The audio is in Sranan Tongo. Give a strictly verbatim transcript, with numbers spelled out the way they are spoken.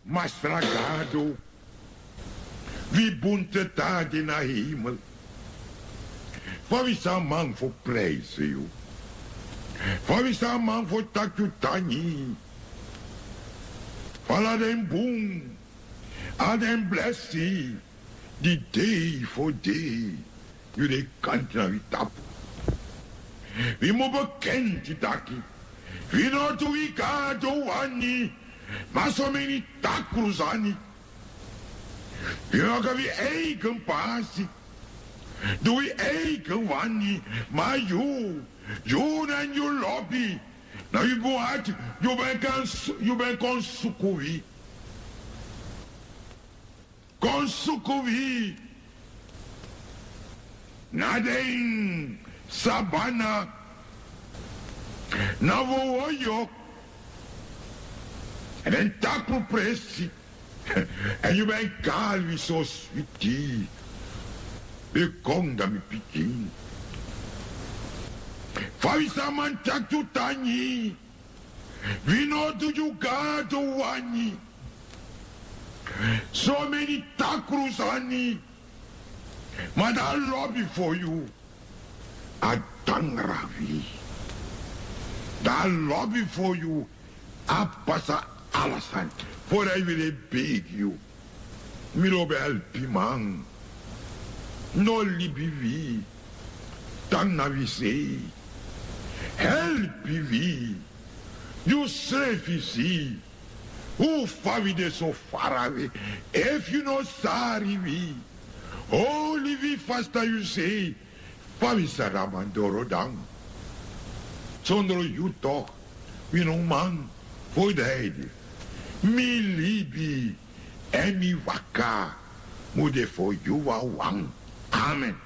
Masra Gado, wi bun Tata de na hemel. Fa wi sa man fu prijs yu? Fa wi sa man fu taki yu tangi? Fu ala den bun, ala den blesi, di dei fu dei yu de kanti na wi tapu. Wi mu bekenti taki wi no du wi Gado wani, ma someni takru sani. Wi waka wi eigen pasi, du wi eigen wani, ma yu, yu nanga yu lobi, nanga yu bun ati, yu ben kan su-, yu ben kon suku wi. Kon suku wi na den sabana, na wowoyo, èn den takru presi, èn yu ben kari wi so switi. Wi kon, da mi pikin. Fa wi sa man taki yu tangi? Wi no du yu Gado wani. Someni takru sani. Ma dan a lobi fu yu a dangra wi. Dan a lobi fu yu a pasa ala sani. Fu dati wi de begi yu. Mi lobi helpiman. No libi wi. Tan na wi sei. Helpi wi. Yu srefi si. Fa wi de so farawe. Efu yu no sari wi, hori wi fasi na yu sei. Fa wi sa man doro dan? Sondro yu tok wi no man fu dede. Mi libi èn mi waka mu de fu yu wawan. Amen.